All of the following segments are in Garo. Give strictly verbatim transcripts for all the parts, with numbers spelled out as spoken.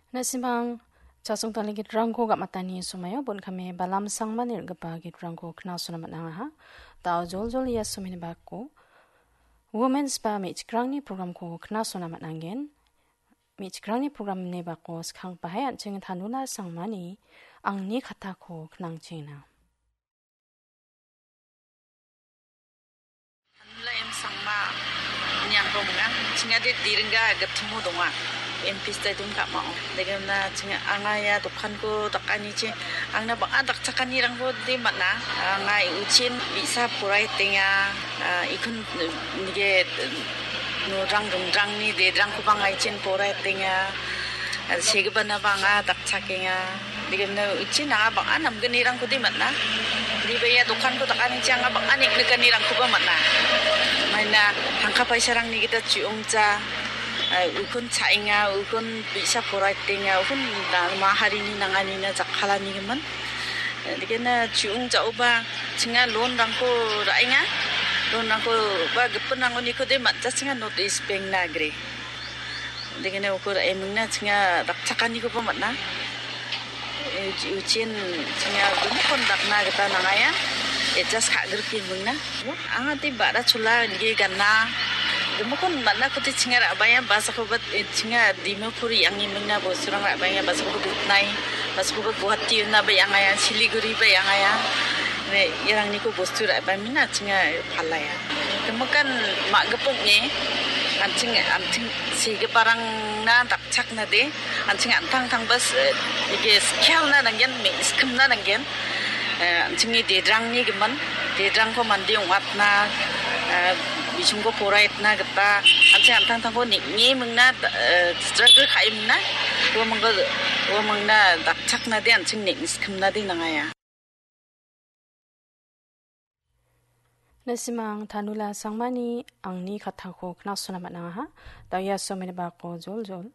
Na·simang chasong tangni gitrangko gam·atani somaio bon kame balam sangmani rim·gipa gitrangko knasona man·angaha. Dao joljol ia someni bako Women's ba me·chikrangni programko knasona man·angen. Me·chikrangni programni bako skangpahai an·ching Tanula Sangmani angni katako knangchina. Tanula M Sangma niangko minga, chingade diringa gatimo donga, M P Stadium ka·mao. Degena chinga anga ia dokanko dakanichi, angna bang·a dakchakanirangko de man·a. Anga uchin bi·sa poraitenga, ah, ikun nige norang ringrangni dedrangkoba anga ichin poraitenga. Segipana bang·a dakchakenga. Degimna uchi nanga bang·a namgnirangkode man·a. Diba ia dokanko dakanichi anga bang·a niknikanirangkoba man·a. Maina tangka paisarangni gita chi·ongja, eh, ukun cha·enga, ukun bi·sa poraitenga, ukun da-, maharini nanganina jakkalanigimin. Eh, degena chi·ongja·oba chinga loanrangko ra·enga. Loanrangko ba gipinrangonikode man·ja chinga North East Bank-na agre. Degena ukur emingna chinga dakchakanikoba man·a. Uchi-, uchin chinga gimikon dakna gita nangaya. Adjust ka·grike mingna. Anga ti ba·ra chola nige gana. Gimikon man·a kuti chinga ra·baya basakoba, eh, chinga Dimapur yang emingna bosurang ra·baya basakoba Dutnai. Basakoba Guwahati na ba yang aya, Siliguri ba yang aya. Ne, irangniko bostu ra·bamina chinga palaya. Gimikan ma·gipokni, an·ching, an·ching segiparangna dakchaknade, an·ching an·tangtangba s-, ike skillna nanggen, me-, skillna nanggen. Eh, an·chingni dedrangni gimin, dedrangko mande ong·atna, eh, bisingko poraitna gita, an·ching an·tangtangko neng·e mingna, eh, struggle ka·e mingna, ua mingko, ua mingna dakchaknade an·ching neng-, skillnade nangaya. Na·simang Tanula Sangmani angni katako knasona man·angaha. Dao ia someni bako joljol.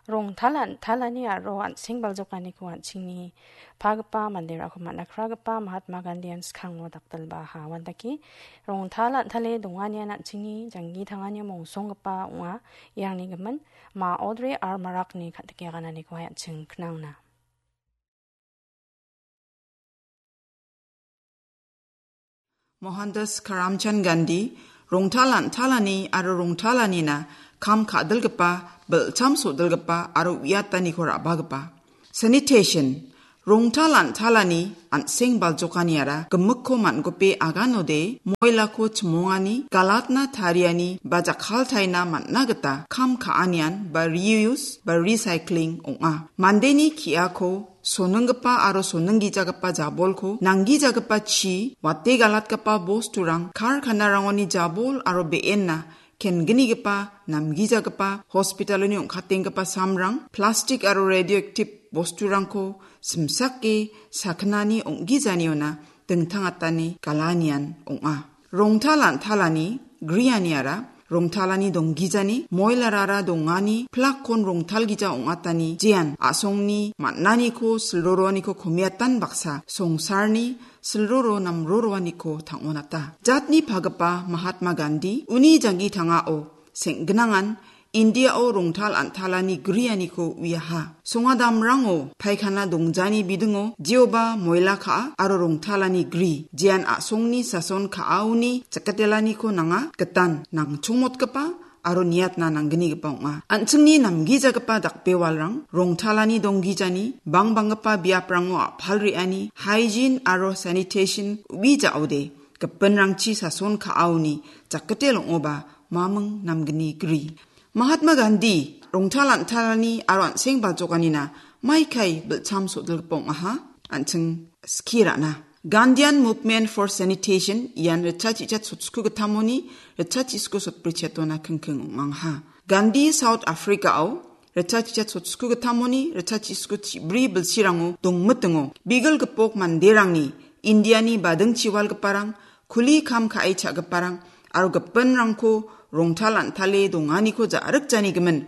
Rongtal an-, talani aro an·seng baljokaniko an·chingni pagipa manderangko man·a kragipa Mahatma Gandhian skango dakdalbaha. Uandake rongtal an·tale donganian an·chingni janggi tangani mongsonggipa ong·a. Iangni gimin Ma Audrey R Marakni kan·tike agananikoba an·ching knangna. Mohandas Karamchand Gandhi, rongtal an·talani aro rongtalanina kam ka·dilgipa, bilcham sodilgipa aro uiataniko ra·bagipa. Sanitation, rongtal an·talani an·seng baljokaniara gimikko man·gope aganode moilako chimongani, galatna tariani ba jakkaltaina man·na gita kam ka·anian ba reuse ba recycling ong·a. Mandeni ki·ako soninggipa aro soninggijagipa jabolko nanggijagipa chi, wate galatgipa bosturang, karkanarangoni jabol aro be·enna kenggipa, namgijagipa, hospitaloni ong·katenggipa samrang, plastik aro radioactive bosturangko simsake sakgnani ong·gijaniona dingtangatani galanian ong·a. Rongtal an·talani grianiara rongtalani donggijani, moilarara dongani, plakkon rongtalgija ong·atani, jean a·songni man·aniko silroroaniko komiatan baksa songsarni silroro namroroaniko tang·onata. Jatni pagipa Mahatma Gandhi uni janggi tangao seng·gnangan Indiao rongtal an·talani grianiko uiaha. Songadamrango paikana dongjani bidingo jeoba moila ka·a aro rongtalani gri, jean a·songni sason ka·aoni jakatelaniko nanga gitan nangchongmotgipa aro niatna nanggnigipa ong·a. An·chingni namgijagipa dakbewalrang rongtalani donggijani, bangbanggipa biaprango a·pal re·ani, hygiene aro sanitation uijaode, gipinrangchi sason ka·aoni jakkitel ong·oba maming namgni gri. Mahatma Gandhi rongtal an·talani aro an·seng baljokanina maikai bilcham sodilgipa ong·aha, an·ching skie ra·na. Gandhian Movement for Sanitation ian ritchachisat sotskugittamoni ritchachisku sotbrichetona kingking ong·angaha. Gandhi South Africa-o ritchachisat sotskugittamoni ritchachisku chibri bilsirango dongmitingo bigil gipok manderangni Indiani badingchiwalgiparang, kuli kam ka·e cha·giparang aro gipinrangko rongtal an·tale donganiko ja·rikjanigimin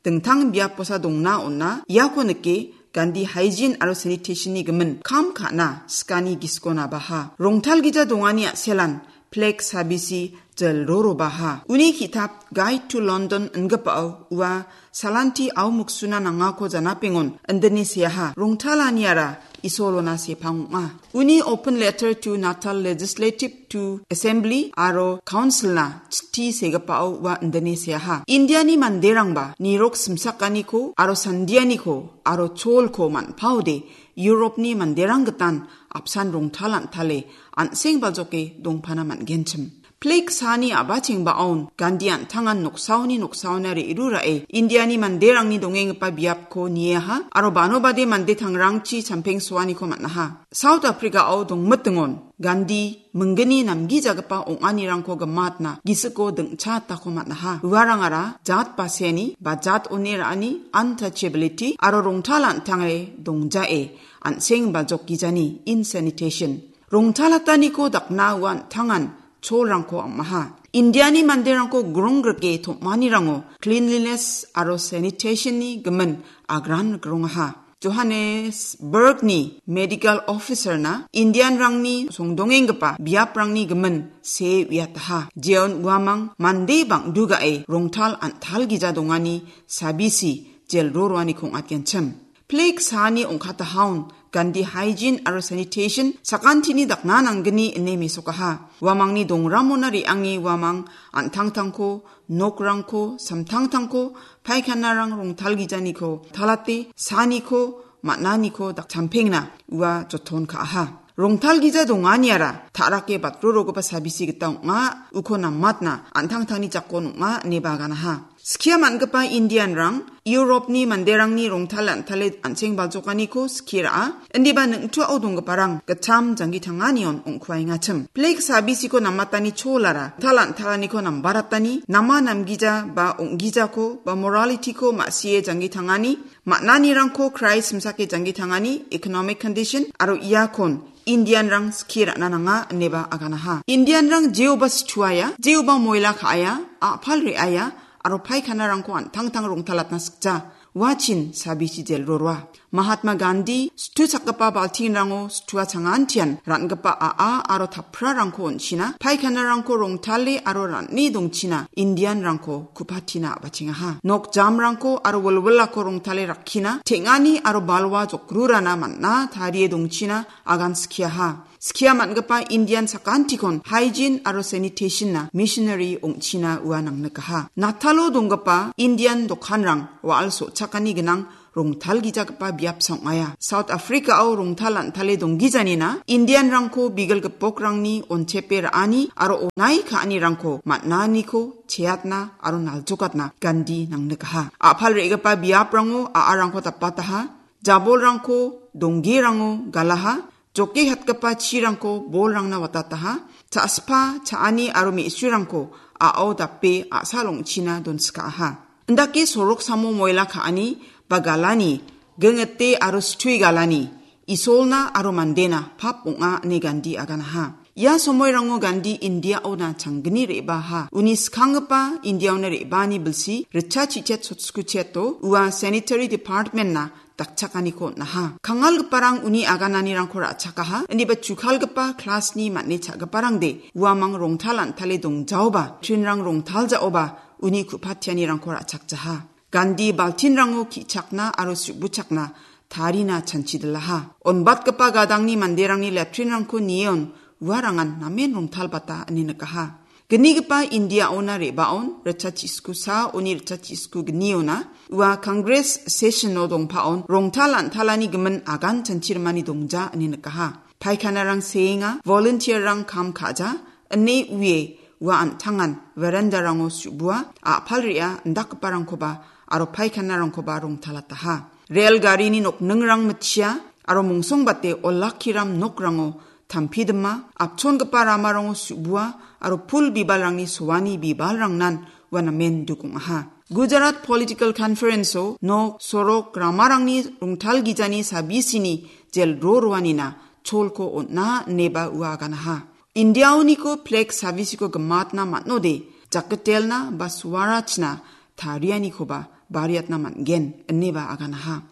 dingtang biaposa dongna on·a. Iako nike Gandhi Hygiene aro Sanitation-ni gimin kam ka·na skani giskonabaha. Rongtalgija dongani a·selan Plague sabisi jel rorobaha. Uni ki·tap Guide to London ingipao ua salanti au muksuna nangako janapengon indine seaha. Rongtalaniara Isolona sepang ong·a. Uni open letter to Natal Legislative to Assembly aro Council-na chitti segipao ua indine seaha. Indiani manderangba nirok simsakaniko aro sandianiko aro cholko man·paode Europe-ni manderang gitan apsan rongtal an·tale an·seng baljoke dongpana man·genchim. Plague saani a·bachengbaon Gandhi an·tangan noksaoni noksaona re·rurae Indiani manderangni dongenggipa biapko nieha aro bano bade mande tangrangchi champengsoaniko man·aha. South Africa-o dongmitingon Gandhi minggni namgijagipa ong·anirangko gimatna gisiko dingchatako man·aha. Uarangara jat baseni ba jat one ra·ani untouchability aro rongtal an·tange dongjae an·seng baljokgijani insanitation. Rongtalataniko dakna ua an·tangan cholrangko am·aha. Indiani manderangko gronggrike tom·anirango cleanliness aro sanitation-ni gimin agran rikrongaha. Johannesburg-ni medical officer-na Indian-rangni songdongenggipa biaprangni gimin see uiataha. Jeon uamang mande bang·dugae rongtal an·talgija dongani sabisi jel roroaniko ong·atgenchim. Plague saani ong·katahaon Gandhi hygiene aro sanitation sakantini dakna nanggni ine mesokaha. Uamangni dongramona re·ange uamang an·tangtangko, nokrangko, samtangtangko, paikhanarang rongtalgijaniko, talate, saaniko, man·aniko dakchampengna ua joton ka·aha. Rongtalgija donganiara ta·rake batrorogipa sabisi gita ong·a, uko namatna an·tangtangni jakon ong·a ineba aganaha. Skia man·gipa Indian-rang Europe-ni manderangni rongtal an·tale an·seng baljokaniko skie ra·a. Indiba ning·tuao donggiparang gitcham janggi tanganion ong·kuaengachim. Plague sabisiko namatani cholara, tal an·talaniko nambaratani, nama namgija ba ong·gijako ba morality-ko ma·sie janggi tangani, man·anirangko Christ simsake janggi tangani, economic condition, aro iakon Indian-rang skie ra·na nanga ineba aganaha. Indian-rang jeoba situaia, jeoba moila ka·aia, a·pal re·aia, aro paikhanarangko an·tangtang rongtalatna sikja. Uachin sabisi jel roroa. Mahatma Gandhi situchakgipa baltinrango situa changantian ra·gipa a·a aro taprarangko on·china, paikhanarangko rongtale aro ra·ne dongchina Indian-rangko kupatina a·bachengaha. Nok jamrangko aro wilwilako rongtale rakkina, teng·ani aro balwa jokrurana man·a tarie dongchina agan skiaha. Skia man·gipa Indian sakantikon hygiene aro sanitation-na missionary ong·china ua nangnikaha. Natalo donggipa Indian dokanrang wa·al so·chakani gnang rongtalgijagipa biapsa ong·aia. South Africa-o rongtal an·tale donggijanina Indian-rangko bigil gipokrangni onchepe ra·ani aro onai ka·anirangko man·aniko cheatna aro naljokatna Gandhi nangnikaha. A·pal re·gipa biaprango a·arangko dapataha, jabolrangko, donggerango galaha, joke hatgipa chirangko bolrangna watataha, cha·spa, cha·ani aro me·surangko a·ao dape a·sal ong·china donskaaha. Indake sorok samo moila ka·ani ba galani, gingete aro situi galani, Isolna aro mandena pap ong·a ine Gandhi aganaha. Ia somoirango Gandhi Indiaona changgni re·baaha. Uni skanggipa Indiaona re·baani bilsi ritchachet sotskutcheto ua sanitary department-na dakchakaniko on·aha. Kangalgiparang uni agananirangko ra·chakaha, indiba chukalgipa class-ni man·e cha·giparangde uamang rongtal an·tale dongjaoba, trinrang rongtal ja·oba uni ku·patianirangko ra·chakjaha. Gandhi baltinrango ki·chakna aro su·buchakna tarina chanchidilaha. Onbatgipa gadangni manderangni latrinrangko nion uarangan namen rongtalbata ine nikaha. Gnigipa Indiaona re·baon ritchachiskusa oni ritchachisku gniona ua Congress session-o dongpaon rongtal an·talani gimin agan chanchirimani dongja ine nikaha. Paikhanarang seenga, volunteer-rang kam ka·ja, ine uie ua an·tangan verandarango su·bua, a·pal re·a indakgiparangkoba aro paikhanarangkoba rongtalataha. Rel garini nokningrang mitchia aro mongsongbate olakkiram nokrango tampidima, apchongipa ramarango su·bua aro pul bibalrangni soani bibalrangnan ua namen duk ong·aha. Gujarat Political Conference-o nok, sorok, ramarangni rongtalgijani sabisini jel ro roanina cholko on·a ineba ua aganaha. Indiaoniko plek sabisiko gimatna man·ode, jakketelna ba suarachna tarianikoba bariatna man·gen, ineba aganaha.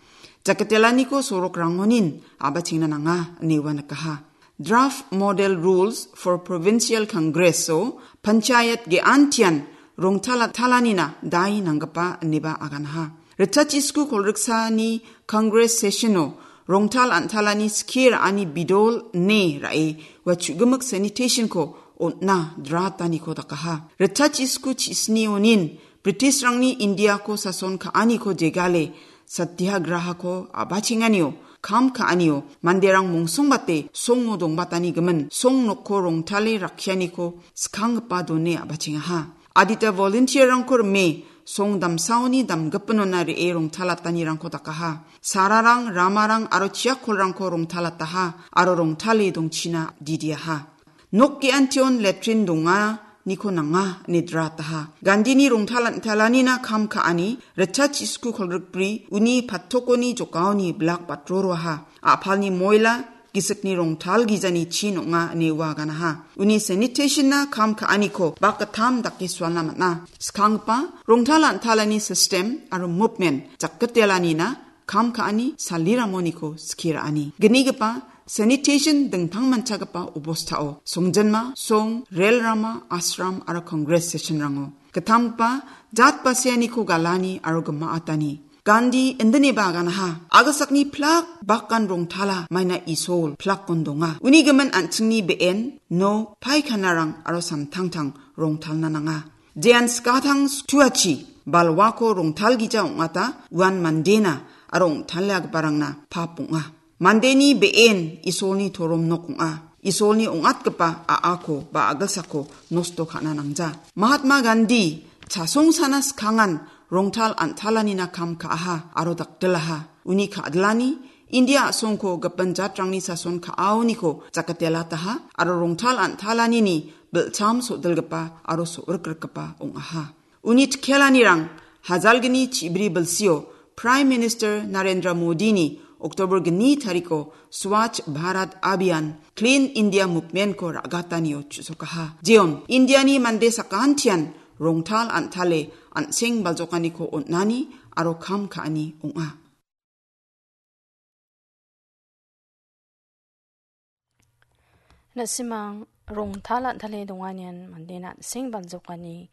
Jakketelaniko sorokrangonin a·bachengna nanga, ine ua nikaha. Draft Model Rules for Provincial Congress-o panchayat ge·antian rongtala-, talanina dai nanggipa ineba aganaha. Ritchachisku kolgriksani Congress session-o rongtal an·talani skie ra·ani bidol ine ra·e ua chu·gimik sanitation-ko on·na drataniko dakaha. Ritchachisku chisnionin British-rangni India-ko sason ka·aniko jegale satyagrahako a·bachenganio, kam ka·anio, manderang mongsongbate songo dongbatani gimin, song nokko rongtale rakkianiko skanggipa done a·bachengaha. Adita volunteer-rangko rime, song damsaoni damgipinona re·e rongtalatanirangko dakaha. Sararang, ramarang aro chiakkolrangko rongtalataha, aro rongtale dongchina didiaha. Nok ge·antion letrin donganiko nanga ine drataha. Gandini rongtal an·talanina kam ka·ani Ritchachisku kolgrikbri uni patokoni jokaoni blak batroroaha. A·palni moila, gisikni rongtal gijani chin ong·a ine ua ganaha. Uni sanitation-na kam ka·aniko bak gittam dake sualna man·a. Skanggipa rongtal an·talani system aro movement jakgitelanina kam ka·ani saliramoniko skie ra·ani. Gnigipa sanitation dingtangmanchagipa obostao songjinma, song, rel rama, ashram aro congress session-rango. Gittamgipa jat baseaniko galani aro gimaatani. Gandhi indineba aganaha, agasakni plak bakan rongtala maina Isol plakon donga. Uni gimin an·chingni be·en, nok, paikanarang aro samtangtang rongtalna nanga. Jean skatang stuachi balwako rongtalgija ong·ata uan mandena aro ong·taliagiparangna pap ong·a. Mandeni be·en Isolni torom nok ong·a. Isolni ong·atgipa a·ako ba a·gilsako nosto ka·na nangja. Mahatma Gandhi chasongsana skangan rongtal an·talanina kam ka·aha aro dakdilaha. Uni ka·dilani India a·songko gipin jatrangni sason ka·aoniko jakatelataha aro rongtal an·talanini bilcham so·dilgipa aro so·rikrikgipa ong·aha. Uni chikelanirang hajalgni chibri bilsio Prime Minister Narendra Modini October gni tariko Swachh Bharat Abhiyan, Clean India Movement-ko ra·gatanio chu·sokaha. Jeon, Indiani mande sakantian rongtal an·tale an·seng baljokaniko on·ani aro kam ka·ani ong·a. Na·simang rongtal an·tale donganian mande na·seng baljokani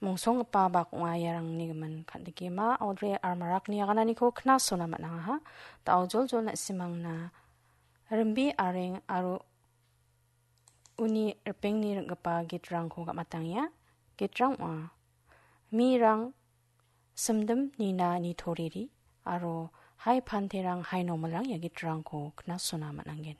mongsonggipa bak ong·a iarangni gimin. Kandikema Audrey R Marakni agananiko knasona man·angaha. Da·o joljol na·simangna rimbe areng aro uni ripengni ring·gipa gitrangko gam·atangenga. Gitrang ong·a. Mirang simdim nina nitoriri aro hai panterang hai nomilrang ia gitrangko knasona man·angen.